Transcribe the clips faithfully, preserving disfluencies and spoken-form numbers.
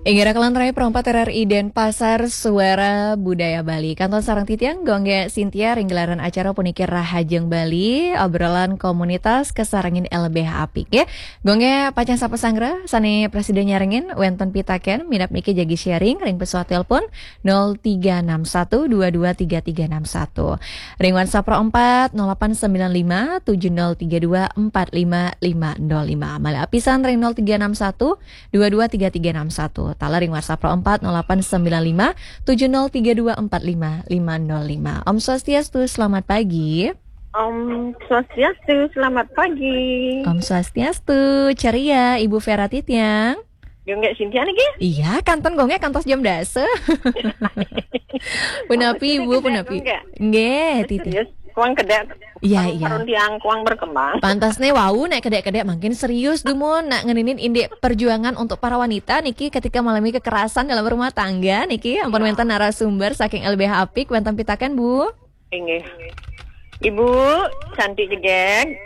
Inggih raka lan rai, Pro empat R R I Denpasar, Suara Budaya Bali. Kantun sareng titiang, Gung Gé Sintia, ring gelaran acara puniki Rahajeng Bali, obrolan komunitas kasarengin L B H apik, nggih. Gung Gé pacang sapa sanggra, sané prasida nyarengin, wénten pitaken, minab niki jagi sharing, ring pesuat telepon, nol tiga enam satu dua dua tiga tiga enam satu. Ring WhatsApp Pro empat, nol delapan sembilan lima tujuh nol tiga dua empat lima lima nol lima. Malih apisan ring nol tiga enam satu dua dua tiga tiga enam satu. Taler ring WhatsApp Pro empat, nol delapan sembilan lima tujuh nol tiga dua empat lima lima nol lima. Om Swastiastu, selamat pagi. Om Swastiastu, selamat pagi. Om Swastiastu, ceria, Ibu Vera Titiang. Gung Gé Sintia niki? Iya, kantun Gung Gé kantos jam dasa. Punapi, Ibu, punapi? Gung Gé. Nggih, Titi. Serius, kuang kedék. Iya, iya. Karun tiang kuang berkembang. Pantas nih, wau, nek kedék-kedék makin serius dumun, nak ngeninin indik perjuangan untuk para wanita niki ketika mengalami kekerasan dalam rumah tangga niki. Ampun, wénten narasumber saking L B H apik, wénten pitaken, Bu. Inggih. Ibu cantik jegég.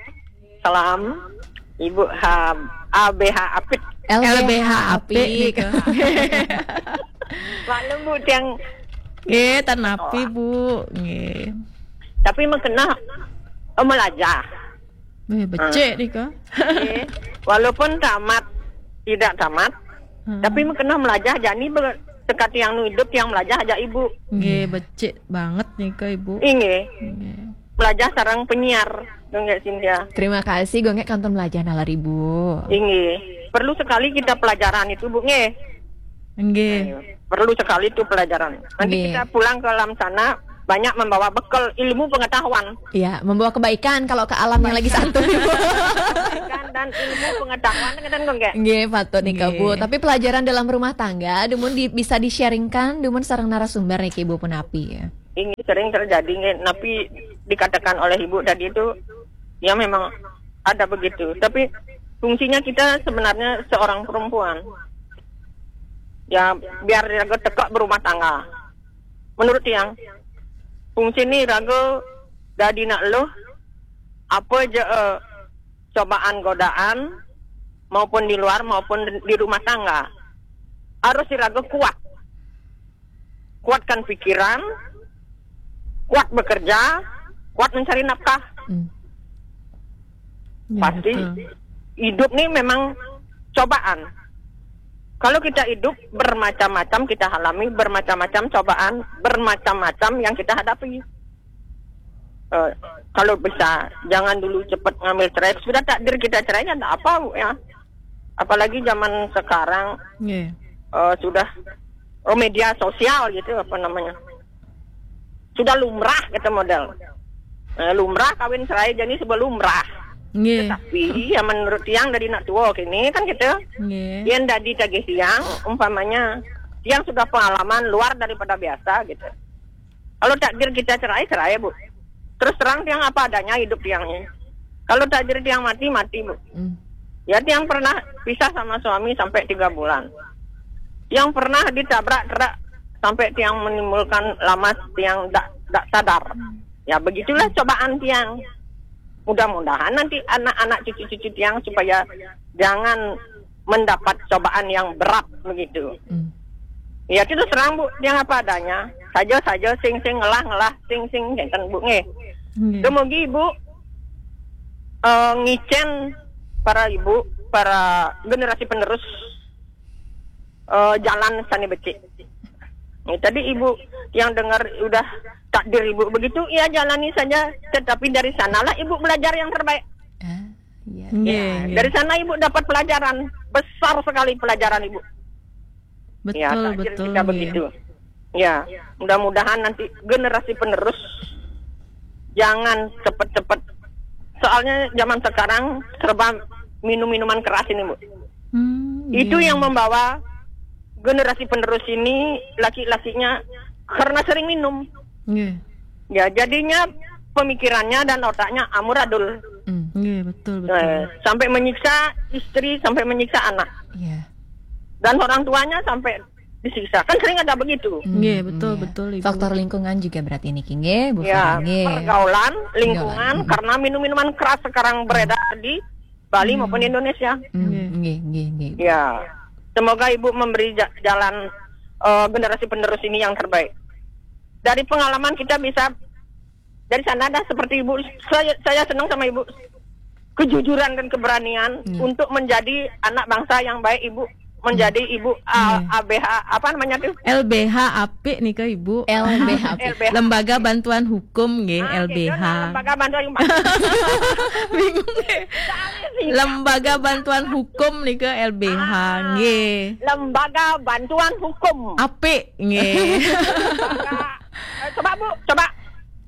Salam. Ibu ha, A B H apik. L B H apik nika. Maklum, Bu, tiang. Nggih, tan napi, Bu. Nggih. Tapi mengkena, oh, melajah. Wéh, becik nika. Nggih. Walaupun tamat, tidak tamat, tapi mengkena melajah, jani be-, teka tiang nu idup, tiang melajah ajak Ibu. Nggih, becik banget nika, Ibu. Inggih. Nggih. Melajah sareng penyiar, Gung Gé Sintia. Terima kasih, Gung Gé kantun melajah nalar Ibu. Inggih. Perlu sekali kita pelajaran itu, Bu, nggih. Nggih. Perlu sekali itu pelajaran. Nanti kita pulang ke alam sana, banyak membawa bekal ilmu pengetahuan. Iya, membawa kebaikan kalau ke alam yang lagi satu, Ibu. Kebaikan dan ilmu pengetahuan, kan, Gung Gé? Nggih, patut nika, Bu. Nggih. Tapi pelajaran dalam rumah tangga, dumun di-, bisa di-sharingkan, dumun sareng narasumber niki, Ibu, punapi, ya. Ini sering terjadi, nggih, napi dikatakan oleh Ibu tadi itu, ya, memang ada begitu. Tapi fungsinya kita sebenarnya seorang perempuan. Ya, biar raga teka berumah tangga. Menurut tiang, fungsi ni raga dadi nak luh, apa je, eh, cobaan godaan, maupun di luar maupun di rumah tangga. Harus raga kuat. Kuatkan pikiran, kuat bekerja, kuat mencari nafkah. Hmm. Ya, pasti betul. Hidup ni memang cobaan. Kalau kita hidup, bermacam-macam kita alami, bermacam-macam cobaan, bermacam-macam yang kita hadapi. Eh, kalau bisa, jangan dulu cepat ngambil cerai. Sudah takdir kita cerai, ya ndak apa, Bu, ya. Apalagi zaman sekarang, nggih, eh, sudah, oh, media sosial gitu, apa namanya, sudah lumrah gitu model. Eh, lumrah kawin cerai, jadi sebab lumrah. Nggih. Tetapi, ya, menurut tiang, dari nak tua kini kan gitu. Nggih. Yang dari tagih tiang, umpamanya, tiang sudah pengalaman luar daripada biasa gitu. Kalau takdir kita cerai, cerai, Bu. Terus terang, tiang apa adanya hidup tiang ini. Kalau takdir tiang mati, mati, Bu. Hmm. Ya, tiang pernah pisah sama suami sampai tiga bulan. Tiang pernah ditabrak truk sampai tiang menimbulkan lamas, tiang dak, dak sadar. Ya, begitulah cobaan tiang. Mudah-mudahan nanti anak-anak, cucu-cucu tiang supaya jangan mendapat cobaan yang berat begitu. Hmm. Ya, terus terang, Bu, tiang apa adanya. Saja-saja, sing-sing, ngelah-ngelah, sing-sing, ngénten, Bu, nggih. Nggih. Dumugi Ibu, eh, ngicén para ibu, para generasi penerus, eh, jalan sané becik. Nih, tadi Ibu yang dengar udah takdir Ibu begitu, ya, jalani saja. Tetapi dari sanalah Ibu belajar yang terbaik. Ah, iya. Nggih, ya, nggih. Dari sana Ibu dapat pelajaran, besar sekali pelajaran Ibu. Betul, ya, takdir betul, kita, nggih, begitu. Ya, mudah-mudahan nanti generasi penerus jangan cepet-cepet. Soalnya zaman sekarang serba minum minuman keras ini, Bu. Hmm, itu, iya, yang membawa generasi penerus ini, laki-lakinya, karena sering minum. Nggih. Ya, jadinya pemikirannya dan otaknya amburadul. Hmm. Nggih, betul, betul, eh, nggih. Sampai menyiksa istri, sampai menyiksa anak. Iya. Dan orang tuanya sampai disiksa. Kan sering ada begitu. Hmm, nggih, betul, iya, betul, Ibu. Faktor lingkungan juga berarti niki, nggih, Bu Farah, nggih. Ya, pergaulan, lingkungan, pergaulan, mm-mm, karena minum-minuman keras sekarang beredar di Bali maupun di Indonesia. Hmm, nggih, nggih, nggih, nggih. Ya. Semoga Ibu memberi ja- jalan eh, generasi penerus ini yang terbaik. Dari pengalaman kita bisa dari sana dah seperti Ibu. Saya saya senang sama Ibu, kejujuran dan keberanian Iya. Untuk menjadi anak bangsa yang baik, Ibu, menjadi Ibu uh, Iya. A B H, apa namanya tuh? L B H apik nih ke Ibu. L B H P. L B H. Lembaga Bantuan Hukum nggih, Ah, L B H. Gitu, nah, lembaga bantuan hukum. Bingung nggih. Lembaga Bantuan Hukum nih ke L B H nggih. Lembaga bantuan hukum. Apik nggih. Lembaga, eh, coba Bu, coba.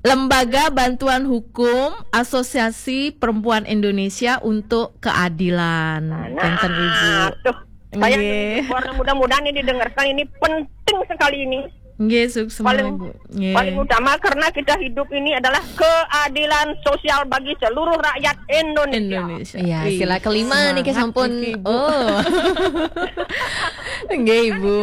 Lembaga Bantuan Hukum Asosiasi Perempuan Indonesia untuk Keadilan. Nah, Enten Ibu. Tuh, saya Nggih. Warna mudah-mudahan ini didengarkan, ini penting sekali ini. Nggih, suksema Paling Ibu. Nggih. Paling utama karena kita hidup ini adalah keadilan sosial bagi seluruh rakyat Indonesia. Indonesia. Iya, Wih, sila kelima nih, semangat sampun. Niki, Ibu. Oh. Nggih, Ibu.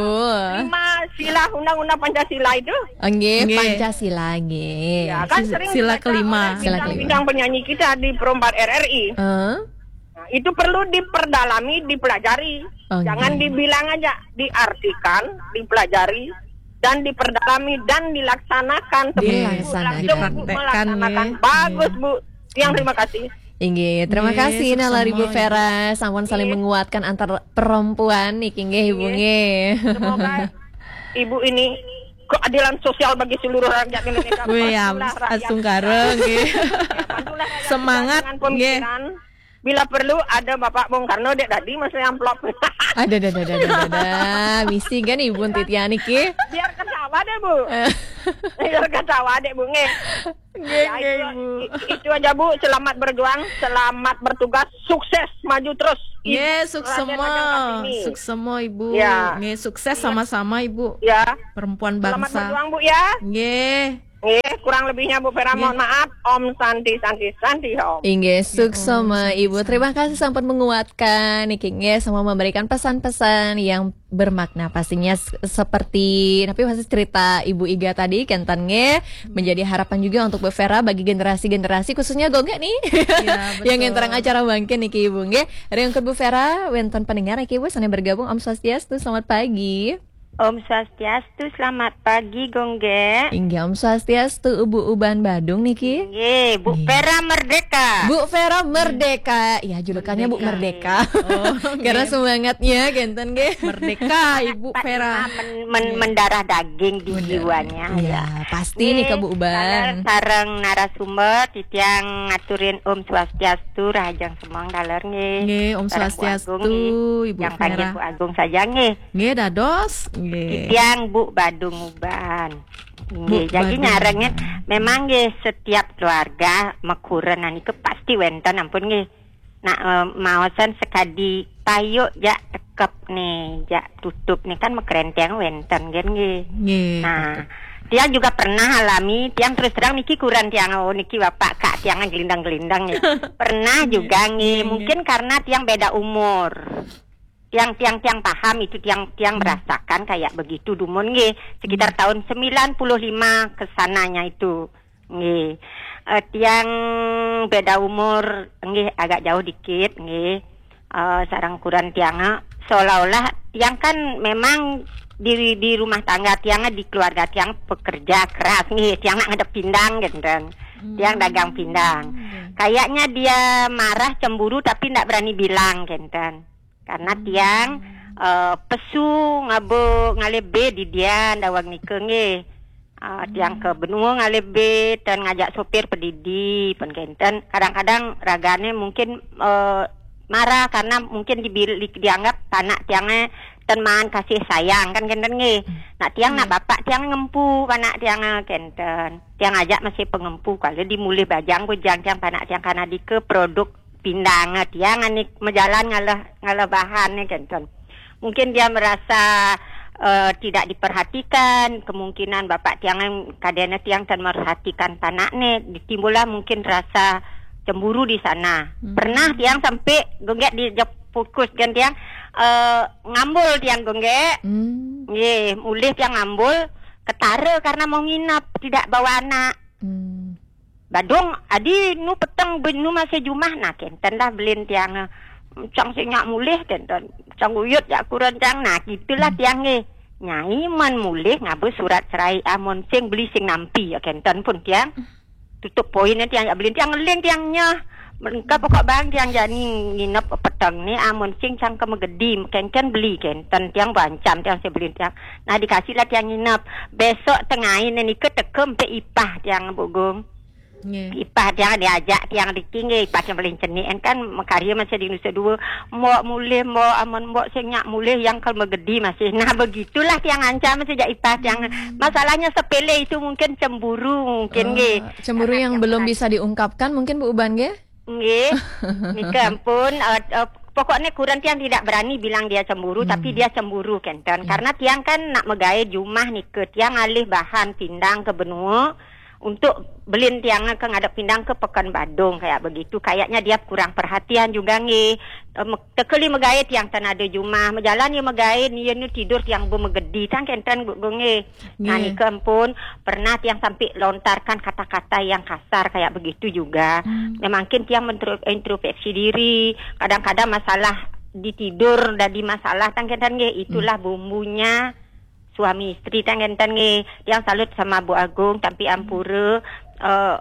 Lima sila undang-undang Pancasila itu. Nggih, Nggih. Pancasila nggih. Ya, kan Sila- sering sila dibaca kelima. Oleh Sila kelima. bintang-bintang penyanyi kita di Pro empat R R I. Eh? Nah, itu perlu diperdalami, dipelajari. Oke. Jangan dibilang aja, diartikan, dipelajari, dan diperdalami dan dilaksanakan. Seperti Dilaksanakan. Ibu langsung, Bu, Dipraktekkan, melaksanakan. nggih. Bagus, Bu. Yang terima kasih. Inggih, terima Nggih, kasih Nalar Ibu suksema, Vera sampun saling Nggih. menguatkan antar perempuan niki nggih Ibu Nggih. nggih. Semoga Ibu ini keadilan sosial bagi seluruh rakyat Indonesia. Wih, ya, Bantulah rakyat. asungkara nggih. Ya, bantulah rakyat Semangat, dengan nggih. pemikiran. Bila perlu ada Bapak Bung Karno dek tadi masih amplop. Ada ada ada ada ada. Misi kan Ibu Titian niki. Biar ketawa deh, Bu. Biar ketawa deh, Bu, nggih. Nggih, Ya, nggih, itu, Ibu. i- itu aja, Bu. Selamat berjuang, selamat bertugas, sukses, maju terus. Nggih, Raden suksema. Raden Kartini. Suksema Ibu. Ya. Nggih, sukses sama-sama Ibu. Ya. Perempuan Selamat bangsa. Berjuang, Bu, ya. Nggih. Nggih, kurang lebihnya, Bu Vera, Nggih. Mohon maaf. Om Santi Santi Santi Om. Inggih, suksema Ibu. Terima kasih sampun menguatkan niki nggih, sama memberikan pesan-pesan yang bermakna pastinya s- seperti tapi masih cerita Ibu Iga tadi kenten nggih, menjadi harapan juga untuk Bu Vera bagi generasi-generasi khususnya Gongge nih. Ya, betul. Yang ngenterang acara mangkin niki Ibu nggih. Ringkut Bu Vera, wenten pendengar niki Ibu sana bergabung. Om Swastiastu, selamat pagi. Om Swastiastu, selamat pagi Gongge. Inggih, Om Swastiastu, Ibu Uban Badung niki. Nggih, Bu Nggih. Vera Merdeka. Bu Vera Merdeka. Ya, julukannya Bu Merdeka. Oh, Karena nggih. Semangatnya kenten nggih. Merdeka Ibu Vera. Men- men- mendarah daging di jiwanya Iya, ya. Pasti nih ke Bu Uban. Sareng narasumber titiang ngaturin Om Swastiastu, Rahajeng Semeng daler nggih. Nggih, Om Sareng Bu Swastiastu, Agung nggih. Ibu Yang panggil Vera. Bu Agung saja nggih. Nggih, dados. Nggih. Titiang Bu Badung Uban. Nggih, Bu jadi Badung nyarengnya Uban. Memang nggih setiap keluarga mekuren niku pasti wenten ampun nggih. Nah, eh, maosan sekadi payuk jak tekep nih, jak tutup nih kan mekerenteng wenten kan nggih. Nggih. Nah, tiang juga pernah alami, tiang terus terang niki kuran tiang, oh, niki bapak kak tiang gelindang-gelindang nih. Pernah juga nggih, Nggih. Mungkin karena tiang beda umur. Tiang tiang tiang paham itu tiang tiang merasakan kayak begitu dumun nggih, sekitar tahun sembilan puluh lima ke sananya itu. Nggih. Eh, tiang beda umur nggih agak jauh dikit nggih. Eh, sarang kuran tiang, eh, seolah-olah tiang kan memang di di rumah tangga tiang, di keluarga tiang pekerja keras nggih, tiang nak ngadep pindang gitu. Tiang dagang pindang. Kayaknya dia marah cemburu tapi ndak berani bilang kenten. Karena tiang eh, pesu ngabe ngalebe di dia dawang nike nggih. Eh, tiang ke benua ngalebe dan ngajak sopir pedidi pun kenten. Kadang-kadang ragane mungkin eh, marah karena mungkin dibil- dianggap panak tiangnya ten maan kasih sayang kan kenten nggih. Nak tiang nak bapak tiang ngempu panak tiang kenten. Tiang ajak masih pengempu kalau dimulih bajang bujang tiang panak tiang karena dike produk pindang tiang anik mejalan ngalah ngalah bahan nih kenten. Mungkin dia merasa eh, tidak diperhatikan, kemungkinan bapak tiang kadena tiang tan merhatikan panak nih, ditimbullah mungkin rasa cemburu di sana. Pernah tiang sampai gonggek di fokus kan tiang eh, ngambul tiang gonggek. Hmm. Nggih, mulih tiang ngambul ketara karena mau nginep, tidak bawa anak. Hmm. Badung, adi nu peteng ben nu masih jumah nah kenten dah belin tiang eh, cang sing nyak mulih kenten. Cang uyut jak kuren cang. Nah, gitulah tiang nggih. Nyai men mulih ngaba surat cerai amun sing beli sing nampi ya kenten pun tiang. Tutup poin tiang jak beli tiang ngeling tiang nyeh. Mengka pokok bang tiang jani nginep peteng ni amun sing cang ke megedi kenten beli kenten tiang bancam tiang sing beli tiang. Nah, dikasih lah tiang nginep. Besok tengah ini nika teka empe ipah tiang bugung. Nggih. Ipah tiang diajak tiang riki nggih, ipah tiang paling cenik kan, kan makarya masih di Nusa Dua. Mbok mulih, mbok amun mbok sing nyak mulih yang ke megedi masih. Nah, begitulah tiang ancam sejak ipah tiang. Hmm. Masalahnya sepele itu mungkin cemburu mungkin nggih. Oh, cemburu yang belum bisa diungkapkan mungkin Bu Uban nggih? Nggih. Nika ampun, eh, eh, pokoknya kuren tiang tidak berani bilang dia cemburu, hmm, tapi dia cemburu kenten. Ya. Karena tiang kan nak megawe jumah nika, tiang alih bahan pindang ke benua untuk belin tiang ke ngadep pindang ke Pekan Badung kayak begitu. Kayaknya dia kurang perhatian juga nggih. Eh, me-, tekeli megawe tiang tan ada jumah, mejalan ya megawe ni ya nu tidur tiang bu megedi tang kenten bu nggih. Nah, nggih, nika ampun, pernah tiang sampai lontarkan kata-kata yang kasar kayak begitu juga. Hmm. Ya, mungkin tiang mentro-, introspeksi diri. Kadang-kadang masalah di tidur dadi masalah tang kenten nggih. Itulah, hmm, bumbunya suami istri tang kenten nggih. Tiang salut sama Bu Agung, tapi ampura, eh,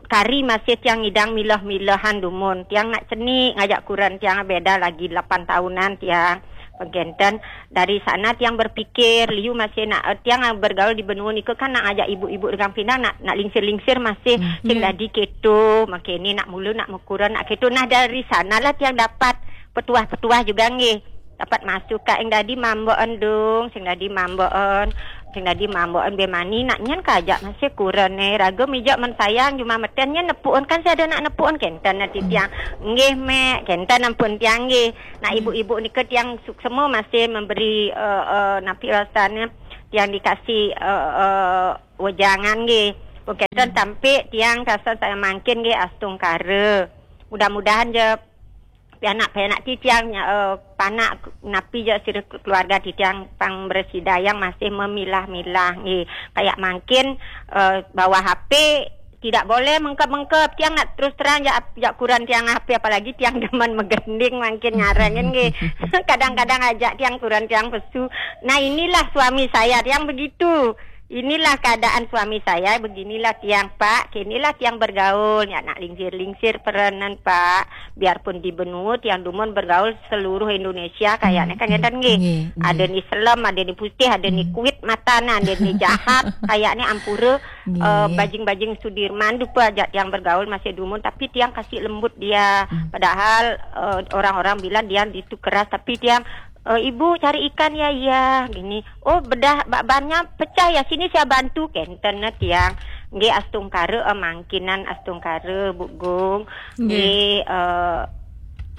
kari masih tiang ngidang milah-milahan dumun. Tiang nak cenik ngajak kuren tiang beda lagi lapan tahunan tiang. Pengkenten dari sana tiang berpikir, liu masih nak, eh, tiang bergaul di benua nika kan nak ngajak ibu-ibu regang pindang nak, nak lingsir-lingsir masih, hmm, sing, ya, dadi keto, makin ni nak mulu nak mekuren nak keto. Nah, dari sanalah tiang dapat petuah-petuah juga nggih. Dapat masuk ka ing dadi mamboen dong, sing dadi mamboen, sing dadi mamboen be mani nak nyen kajak masih kuren eh. Raga mija men sayang jumah meten nyen nepuken kan saya ada nak nepuken kenten nanti tiang. Nggih, Mek, kenten ampun tiang nggih. Nah, ibu-ibu nika tiang suksema masih memberi, eh, eh, napi rasanya tiang dikasih, eh, eh, wejangan nggih. Pun kenten sampai tiang rasa saya mangkin nggih astungkara. Mudah-mudahan je pianak-pianak titiang, eh, panak napi je sira keluarga titiang pang bersida yang masih memilah-milah nggih. Kayak mangkin, eh, bawa H P tidak boleh mengkep-mengkep. Tiang nak terus terang jak, jak kuran tiang H P, apalagi tiang demen megending mangkin ngarengin nggih. Kadang-kadang ajak tiang kuran tiang pesu. Nah, inilah suami saya tiang begitu. Inilah keadaan suami saya, beginilah tiang, Pak, kinilah tiang bergaul, ya nak lingsir-lingsir perenan, Pak. Biarpun di benua tiang dumun bergaul seluruh Indonesia, kayaknya kan ngeten nggih. Nggih, nggih. Ada ni selem, ada ni putih, ada ni kuit mata, nah, ada ni jahat, kayaknya ampura, eh, bajing-bajing Sudirman tu pun ajak tiang bergaul masih dumun, tapi tiang kasih lembut dia. Padahal, eh, orang-orang bilang dia itu keras, tapi tiang, eh, "Ibu cari ikan ya, iya," gini. "Oh, bedah ba-, bannya pecah ya, sini saya bantu," kenten na tiang. Nggih, astungkara, eh, mangkinan astungkara, Bu Gung. Nggih. Nggih, eh,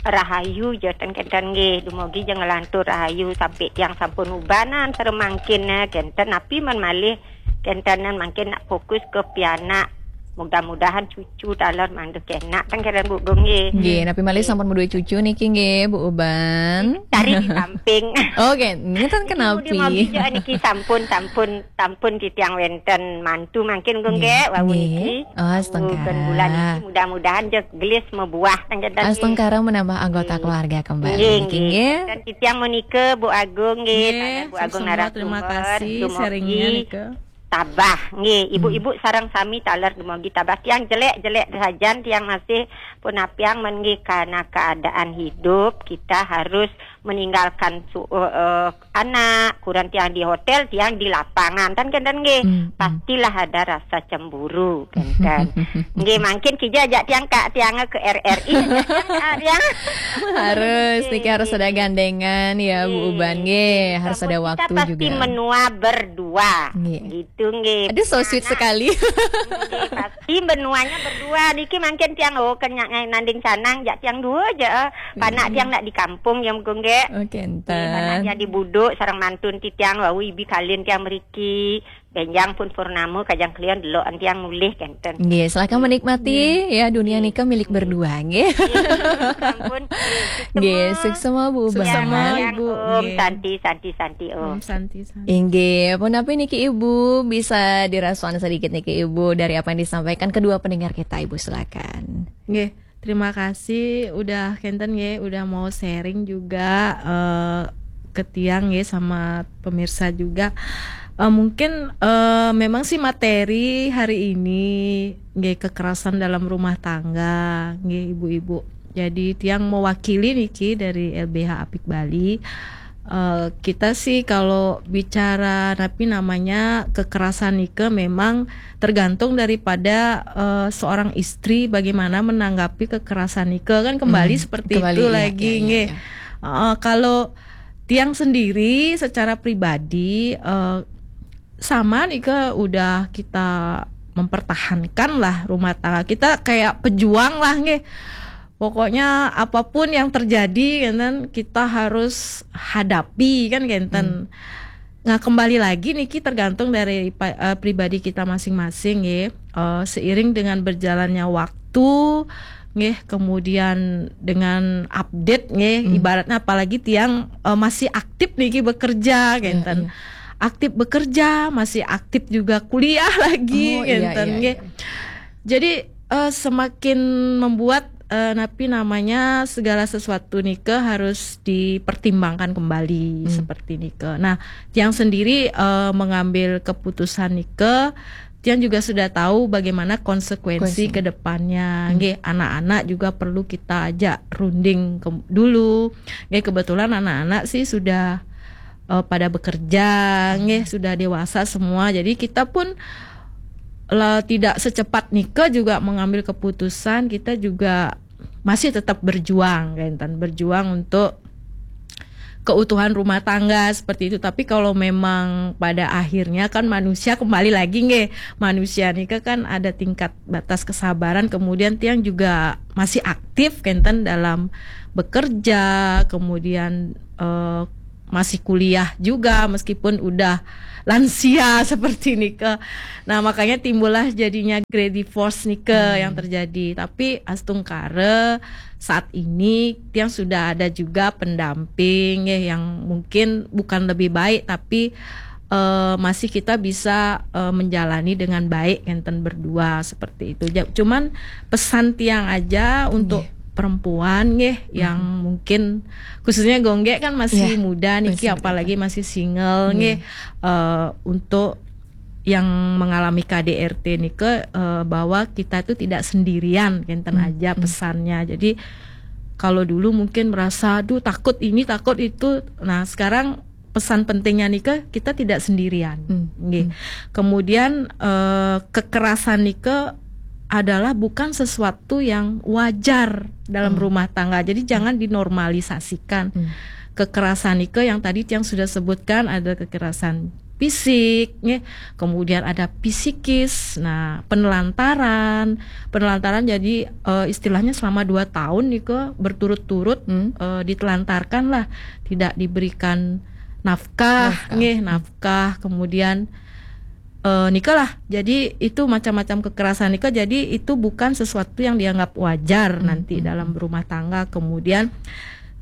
rahayu je ten kenten nggih, dumogi je ngelantur rahayu sampai tiang sampun ubanan seremangkin na kenten, napi men malih kentenan mangkin nak fokus ke pianak. Mudah-mudahan cucu taler mandu kenak tang keren Bu Gung nggih. Nggih, napi malih sampun madue cucu niki nggih, Bu Uban. Cari di samping. Oke, ngeten kenapi? Mugi-mugi niki sampun, sampun, sampun titiang wenten mantu mangkin Gung nggih, wau niki. Oh, astungkara. Bulan niki mudah-mudahan je gelis mebuah tang kenten nggih. Astungkara menambah anggota keluarga kembali niki nggih. Dan titiang menika Bu Agung nggih, Bu Agung semua, terima kasih sharingnya nika. Tabah nggih, ibu-ibu sareng sami taler dumogi tabah. Tiang jelek-jelek sajan, tiang masih pun apiang men nggih karena keadaan hidup kita harus meninggalkan su-, eh, eh, anak, kuran tiang di hotel, tiang di lapangan, kan kenten nggih. Pastilah ada rasa cemburu, kenten. Nggih, mangkin kija ajak tiang ka tiang ke R R I, ah, tiang. Harus, niki harus ada gandengan ya, Bu Uban nggih. Harus ada waktu juga. Kita pasti menua berdua. Nggih. Gitu nggih. Aduh, so sweet sekali. Nggih, pasti benuanya berdua. Niki mangkin tiang, oh, kenyang nanding canang, jak tiang dua aja. Panak tiang nak di kampung yang gung nggih. Oke, nggih, panak tiang di buduk, sareng mantun titiang, wau ibi kalin tiang meriki. Benjang pun purnama, kajang kelian delokan tiang mulih kenten. Nggih, silakan menikmati ya, dunia nika milik berdua nggih. Nggih, sampun. Nggih, suksema Bu Uban. Suksema Ibu. Om Santi, Santi, Santi Om. Om Santi, Santi. Inggih, punapi niki Ibu, bisa direspon sedikit niki Ibu dari apa yang disampaikan kedua pendengar kita Ibu, silakan. Nggih. Terima kasih udah kenten nggih, udah mau sharing juga, eh, ke tiang nggih sama pemirsa juga. Eh, mungkin, eh, memang sih materi hari ini nggih kekerasan dalam rumah tangga nggih ibu-ibu. Jadi tiang mewakili niki dari L B H Apik Bali. Eh, kita sih kalau bicara napi namanya kekerasan nike memang tergantung daripada, eh, seorang istri bagaimana menanggapi kekerasan nike kan kembali Hmm, seperti kembali, itu iya, lagi iya, iya, nggih. iya. Eh, kalau tiang sendiri secara pribadi, eh, sama nike udah kita mempertahankan lah rumah tangga kita kayak pejuang lah nggih. Pokoknya apapun yang terjadi kan kita harus hadapi kan kenten. Nah, kembali lagi niki tergantung dari pa- eh, pribadi kita masing-masing nggih. Eh, seiring dengan berjalannya waktu nggih, kemudian dengan update nggih, ibaratnya apalagi tiang, eh, masih aktif niki bekerja kenten. Iya. Aktif bekerja, masih aktif juga kuliah lagi Oh, iya, kenten iya, nggih. Iya. Jadi, eh, semakin membuat, eh, napi namanya segala sesuatu nike harus dipertimbangkan kembali seperti nike. Nah, tiang sendiri, eh, mengambil keputusan nike, tiang juga sudah tahu bagaimana konsekuensi Konsekuensi. ke depannya. Nggih, anak-anak juga perlu kita ajak runding ke- dulu. Nggih, kebetulan anak-anak sih sudah, eh, pada bekerja, nggih, sudah dewasa semua. Jadi kita pun lah tidak secepat nike juga mengambil keputusan, kita juga masih tetap berjuang kenten, berjuang untuk keutuhan rumah tangga seperti itu. Tapi kalau memang pada akhirnya kan manusia kembali lagi nggih, manusia nike kan ada tingkat batas kesabaran, kemudian tiang juga masih aktif kenten dalam bekerja, kemudian, eh, masih kuliah juga meskipun udah lansia seperti nike. Nah, makanya timbullah jadinya grey divorce nike yang terjadi. Tapi astungkara saat ini tiang sudah ada juga pendamping ya, yang mungkin bukan lebih baik tapi, eh, masih kita bisa, eh, menjalani dengan baik kenten berdua seperti itu. Ja- Cuman pesan tiang aja untuk perempuan nggih yang mungkin khususnya Gonggek kan masih Iya, muda niki masih muda. Apalagi masih single nggih, eh, untuk yang mengalami K D R T nike, eh, bahwa kita itu tidak sendirian kenten aja pesannya. Jadi kalau dulu mungkin merasa aduh takut ini takut itu, nah sekarang pesan pentingnya nike kita tidak sendirian. Hmm. Nggih. Kemudian, eh, kekerasan nike adalah bukan sesuatu yang wajar dalam rumah tangga. Jadi jangan dinormalisasikan. Kekerasan nike yang tadi tiang sudah sebutkan ada kekerasan fisik, nggih. Kemudian ada psikis. Nah, penelantaran, penelantaran jadi, eh, istilahnya selama dua tahun nike berturut-turut, eh, ditelantarkan lah, tidak diberikan nafkah, nggih, nafkah. Kemudian, eh, nike lah. Jadi itu macam-macam kekerasan nike. Jadi itu bukan sesuatu yang dianggap wajar nanti dalam rumah tangga. Kemudian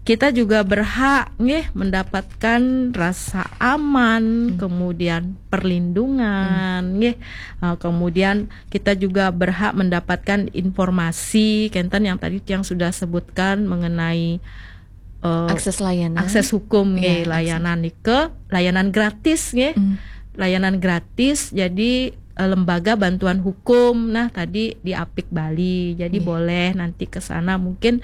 kita juga berhak nggih mendapatkan rasa aman, kemudian perlindungan, nggih. Eh, kemudian kita juga berhak mendapatkan informasi kenten yang tadi tiang sudah sebutkan mengenai, eh, Akses layanan. Akses hukum nggih, Iya, layanan nike, layanan gratis nggih. Layanan gratis jadi, eh, lembaga bantuan hukum. Nah, tadi di Apik Bali. Jadi boleh nanti ke sana mungkin,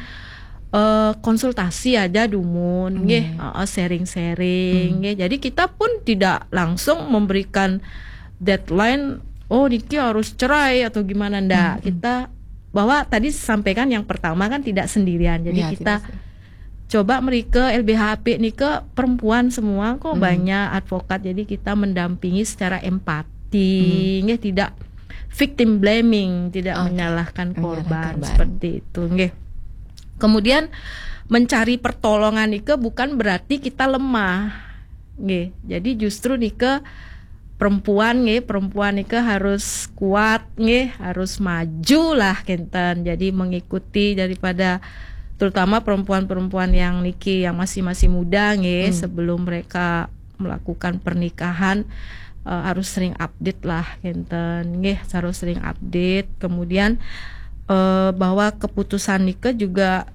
eh, konsultasi aja dumun nggih, heeh, sharing-sharing nggih. Jadi kita pun tidak langsung memberikan deadline oh niki harus cerai atau gimana ndak. Kita bahwa tadi sampaikan yang pertama kan tidak sendirian. Jadi Ya, kita tidak sih. Coba mereka L B H P nike perempuan semua kok banyak advokat. Jadi kita mendampingi secara empati, nggih, tidak victim blaming, tidak Oke. menyalahkan Menyalahkan korban korban. seperti itu, nggih. Kemudian mencari pertolongan nike bukan berarti kita lemah, nggih. Jadi justru nike perempuan nggih, perempuan nike harus kuat nggih, harus maju lah kenten. Jadi mengikuti daripada terutama perempuan-perempuan yang niki yang masih masih muda nggih, sebelum mereka melakukan pernikahan, eh, harus sering update lah kenten nggih, harus sering update. Kemudian eh, bahwa keputusan nika juga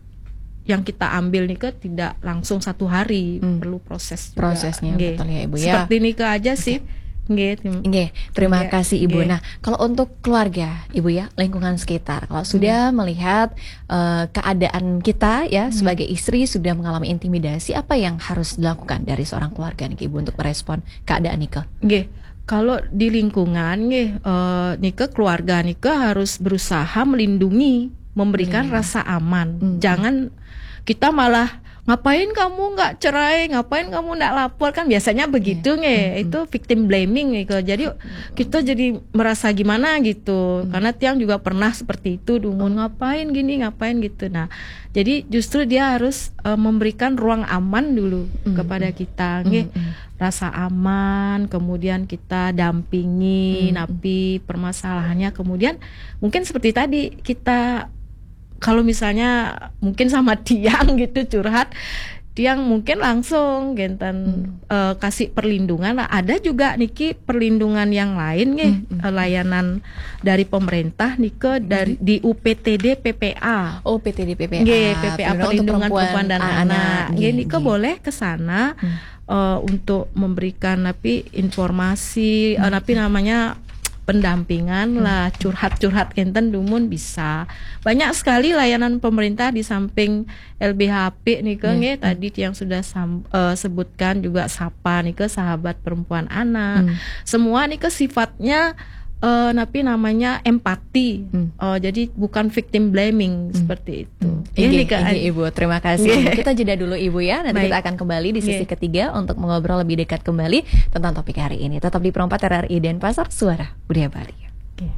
yang kita ambil nika tidak langsung satu hari, hmm, perlu proses juga. Prosesnya, nggih, betul ya, Ibu, ya. Seperti nika aja sih. Nggih, terima kasih, Ibu. Nggih. Nah, kalau untuk keluarga, Ibu, ya, lingkungan sekitar, kalau sudah melihat, eh, keadaan kita, ya, sebagai istri sudah mengalami intimidasi, apa yang harus dilakukan dari seorang keluarga nih, Ibu, untuk merespon keadaan nika? Nggih, kalau di lingkungan nggih, eh, nika keluarga nika harus berusaha melindungi, memberikan rasa aman. Hmm. Jangan kita malah, "Ngapain kamu nggak cerai? Ngapain kamu nggak lapor?" Kan biasanya begitu nggih. Hmm. Itu victim blaming gitu. Jadi kita jadi merasa gimana gitu. Hmm. Karena tiang juga pernah seperti itu, dumun, "Ngapain gini, ngapain gitu." Nah, jadi justru dia harus, eh, memberikan ruang aman dulu kepada kita nggih. Hmm. Rasa aman, kemudian kita dampingi napi permasalahannya, kemudian mungkin seperti tadi kita, kalau misalnya mungkin sama tiang gitu curhat, tiang mungkin langsung genten, eh, kasih perlindungan lah. Ada juga niki perlindungan yang lain nggih, eh, layanan dari pemerintah nika dari di U P T D P P A. Oh, P T D P P A. Nggih, P P A, Perlindungan untuk Perlindungan Perempuan, Perempuan dan Anak. Anak. Nggih, nika boleh ke sana, eh, untuk memberikan napi informasi, eh, napi namanya pendampingan lah, curhat-curhat kenten dumun bisa. Banyak sekali layanan pemerintah di samping L B H P nika nggih, tadi yang sudah sam-, eh, sebutkan juga sapa nika sahabat perempuan anak. Hmm. Semua nika sifatnya, eh, napi namanya empati. Hmm. Eh, jadi bukan victim blaming seperti itu. Hmm. Nggih, inggih, nika, inggih, Ibu. Terima kasih. Nggih. Kita jeda dulu, Ibu, ya. Nanti kita akan kembali di sesi ketiga untuk mengobrol lebih dekat kembali tentang topik hari ini. Tetap di Pro empat R R I Denpasar, Suara Budaya Bali. Oke.